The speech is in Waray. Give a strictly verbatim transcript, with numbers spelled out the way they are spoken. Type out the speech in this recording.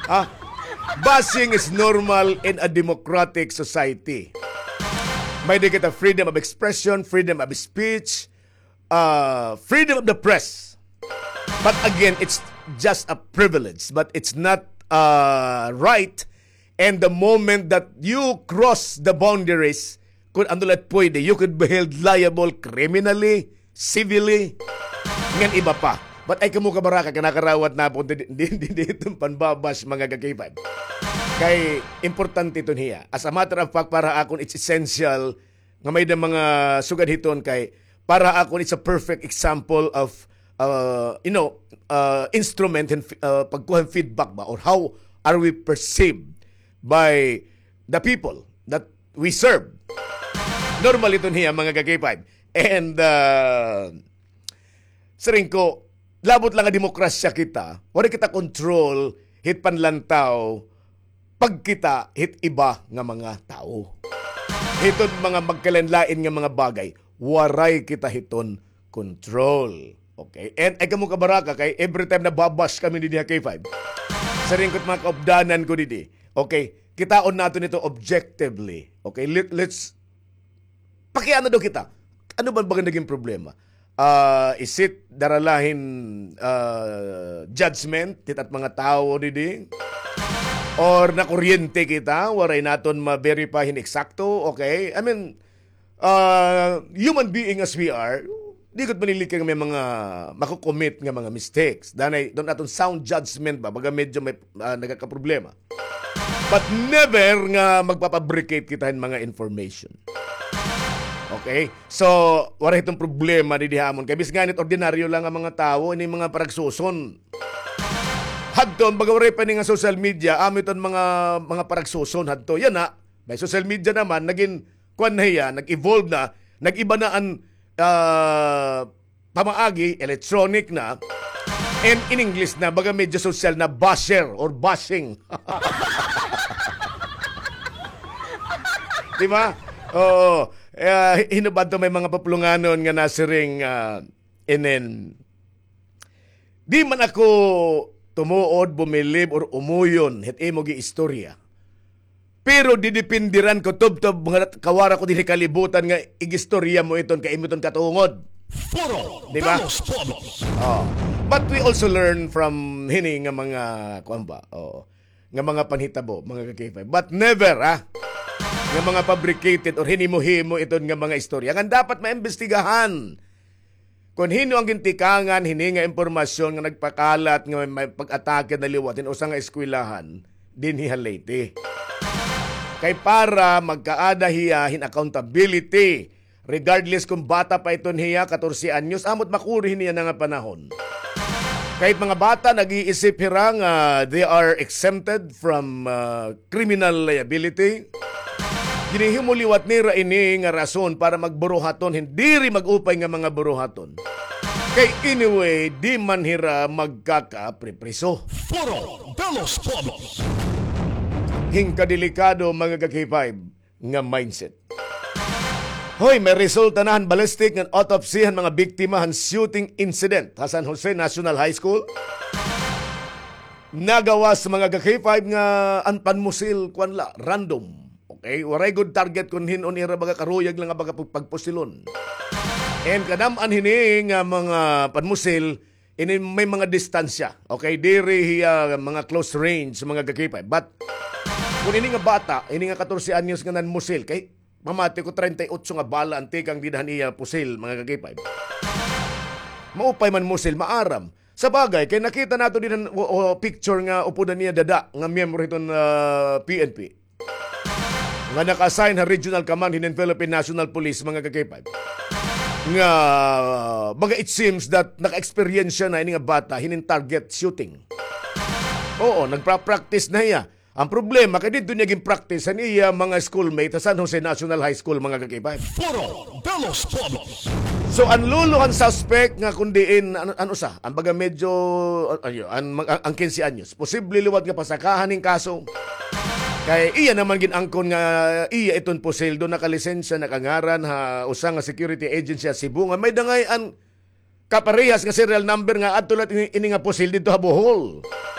Ha? Bashing is normal in a democratic society. May-ada kita freedom of expression, freedom of speech, uh, freedom of the press. But again, it's just a privilege, but it's not, uh, right. And the moment that you cross the boundaries, kun ano la it pwede, you could be held liable criminally, civilly, ngan iba pa. But ay kamo kabaraka, kinakarawat na po, di, di, di, di iton panbabash, mga ka-K five. Kay importante iton hiya. As a matter of fact, para akon, it's essential nga may-ada mga sugad hiton kay para akon, it's a perfect example of, uh, you know, uh, instrument and, uh, pagkuha hin feedback ba, or how are we perceived by the people that we serve. Normal iton hiya, mga ka-K five. And, uh, siring ko, labot la nga demokrasya kita, waray kita control hit panlantaw pagkita hit iba nga mga tawo. Hiton mga magkalain-lain nga mga bagay, waray kita hiton control. Okay? And ay kamo kabaraka, kay every time nababash kami didi ha K five, siring ko it mga kaupdanan ko didi, okay, kitaon naton ito objectively. Okay? Let, let's Pakiana daw kita. Ano ba baga naging problema? Ah, is it dara la hin, ah, judgment hit at mga tawo didi? Or nakuryente kita, waray naton ma-verify hin eksakto, okay? I mean, ah, human being as we are, di gud manilikay nga may mga mako-commit nga mga mistakes. Danay, don aton sound judgment ba, baga medyo may, ah, nagkakaproblema. But never nga magpapabricate kita hin mga information. Okay? So, waray hiton problema didi ha amon. Kay bisan ngani it ordinaryo la nga mga tawo, ini mga paragsuson. Hadto, baga waray pa ini nga social media, amo iton mga, mga paragsuson hadto. Yana, may social media naman, nagin, kuan na hiya, nag-evolve na, nag-iba na an, ah, pamaagi, electronic na, and in English na, baga medyo social na, basher or bashing. Di ba? Oo. Eh, hinubad to may mga papulunganon nga nasiring, ah, inin, di man ako tumuod, bumilib, or umuyon hit imo giistorya. Pero didepindiran ko tubtob nga kawara ko dinhi kalibutan nga igistorya mo iton kay imo iton katungod. Foro Di ba? Velos Pobres. Oh. But we also learn from hini nga mga, kuan ba? Oh. Nga mga panhitabo, mga ka-K five. But never, ah, nga mga fabricated or hinimo-himo iton nga mga istorya. Nga dapat maimbestigahan. Kon hin-o an gintikangan hini nga impormasyon nga nagpakalat nga may, may pag-atake na liwat hin usa nga eskwelahan dinhi ha Leyte. Kay para magkaada hiya hin accountability, regardless kon bata pa iton hiya, katorse anyos, amo it makuri hini yana nga panahon. Kay mga bata, nag-iisip hira nga they are exempted from, ah, criminal liability. Ginhimo liwat nira ini nga rason para magburuhaton hin diri mag-upay nga mga buruhaton. Kay anyway, di man hira magkakapripriso. Foro Velos Pobres. Hin kadelikado, mga ka-K five, nga mindset. Hoy, may resulta na han ballistic ngan autopsy han mga biktima han shooting incident ha San Jose National High School. Nagawas, mga ka-K five, nga an panmusil, kuan la, random. Okay? Waray gud target kon hin-o an ira baga karuyag la nga baga pag-, pagpusilon. And kadam-an hini nga mga panmusil, ini may mga distansya. Okay? Diri hiya mga close range, mga ka-K five. But kon ini nga bata, ini nga katorse anyos nga nanmusil, kay mamati ko treinta y ocho nga bala an tikang dida han iya pusil, mga ka-K five. Maupay man musil, maaram. Sa bagay, kay nakita naton dinhi han, o, o, picture nga upod an iya dada nga miyembro hiton, ah, P N P nga naka-assign ha Regional Command hinin Philippine National Police, mga ka-K five. Nga, baga, it seems that naka-experience na ini nga bata hinin target shooting. Oo, nagpa-practice na hiya. An problema, kay didto niya gin-practice an iya mga schoolmate sa San Jose National High School, mga ka-K five. Foro Velos Pobres. So, an lolo han suspect nga kun diin, ano, ano sa, an baga medyo, an, an, an, an kinse anyos, posible liwat nga pasakahan hin kaso. Kay iya naman gin-angkon nga iya iton pusil, do nakalisensya, nakangaran ha usa nga security agency ha Cebu nga may-ada ngay-an kaparehas nga serial number nga adto la ini, ini nga pusil didto ha Bohol.